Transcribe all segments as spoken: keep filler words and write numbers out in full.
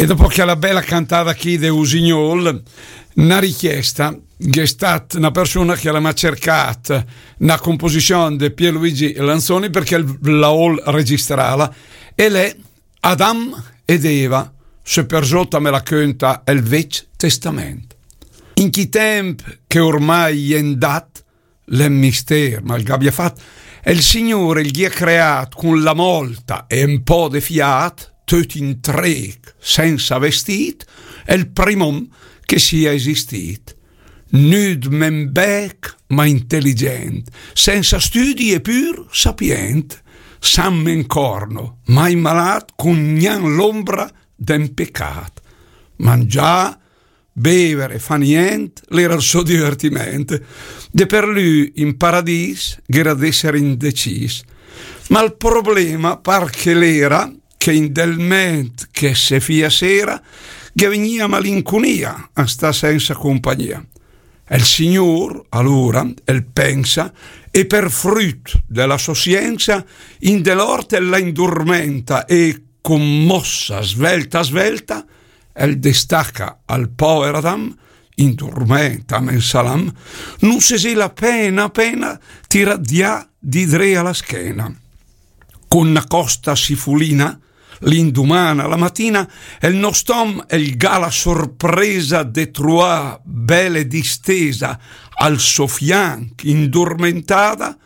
E dopo chèla bèla cantada chì de Usignol, na richiesta, gh'è stat na persuna che la m'à cercat na composizion de Pierluigi Lanzoni perché la ól registrala, e l'è Adam ed Eva, se per zóta me la cönta el Vec Testament. In chi temp che ormai è 'ndat, l'è 'n mistér, ma 'l gh'àbia fat, el Signur el gh'ìa creat cun la mòlta e 'n pó de fiat, töt intréch, sensa vestìt, el prim om che sia esistìt. Nüd men bèch, ma inteligent, sensa stüdi e pür sapient, san men corno, mai malat, cun gnan l'ombra de 'n pecat. Mangià, béver e fà nient, l'era 'l sò divertiment. De per lü in paradis gh'era d'esser indecis. Ma 'l problema par che l'era che in del ment che se fia sera, ghe vegnia malincunia a sta sensa compagnia. El Signur, alura, el pensa, e per früt de la sò siensa, in de l'ort el la indurmenta e, con mossa svelta svelta, el destaca al pover Adam, indurmenta men salam, nun se zi la pena pena tirà dià di dré a la schena. Con na costa sifulina, l'indumana la matina, el nost'om el gh'à la sorpresa de truà bèle distesa al sò fianch indurmentada,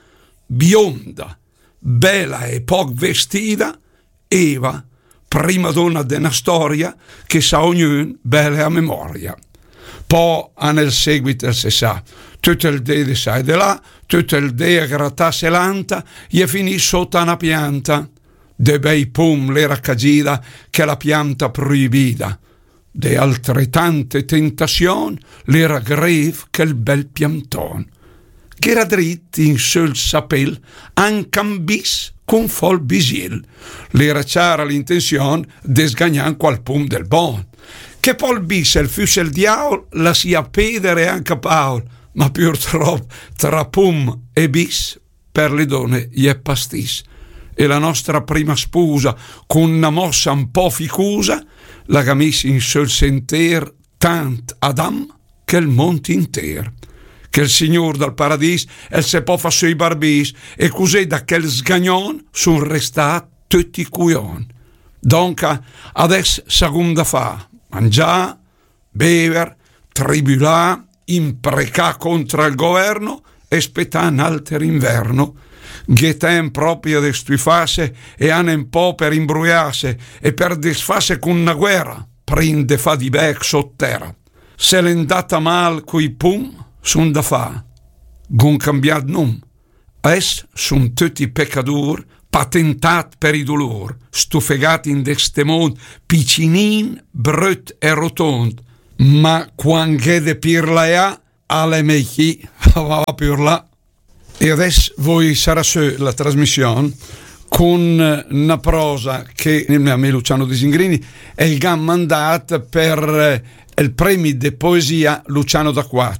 bionda, bèla e poc vestida, Eva, prima dona de na storia che sa ognün bèle a memoria. Pò a 'n el seguit el se sa, töt el dé de sà e de là, töt el dé a gratàs e lanta, i è finì sóta na pianta. De bèi pum l'era cagida chèla pianta proibida. De altretante tentasion l'era grev chèl bèl pianton. Gh'era drit in söl sapel anca 'n bis cun fò 'l bisil. L'era ciara l'intension de sgagnà 'n qual pum del bon. Che pò 'l bis el füss el diaul, lasìa péder e anca Paul, ma purtrop tra pum e bis per le done i è pastis. E la nostra prima spusa, con na mossa un po' ficusa, la gh'à mis in söl senter tant Adam che 'l mont inter. Che 'l Signur dal Paradis el se pò fà sö i barbis, e cusì da chel sgagnon sun restat töt i cujon. Donca, adès sa gh'um da fà: mangià, béver, tribülà, imprecà contra el governo e spetà n'alter inverno. Gh'è temp propria de stüfasse e ane un po' per imbruiasse e per desfasse con na guerra, prim de fà di bèch sot tera. Se l'è 'ndata mal coi pum, sun da fà: gh'um cambiat num. Adès sun töt i pecadur, patentat per i dulur, stufegat in de ste mond, picinin, bröt e rotond. Ma quan gh'è de pirlaià, a l'è mei chi va a pirlà. E adès voi sarà sö la trasmission con na prosa che el me amì Luciano Disingrini el gh'à mandat per, eh, el premi de poesia Luciano D'Aquat.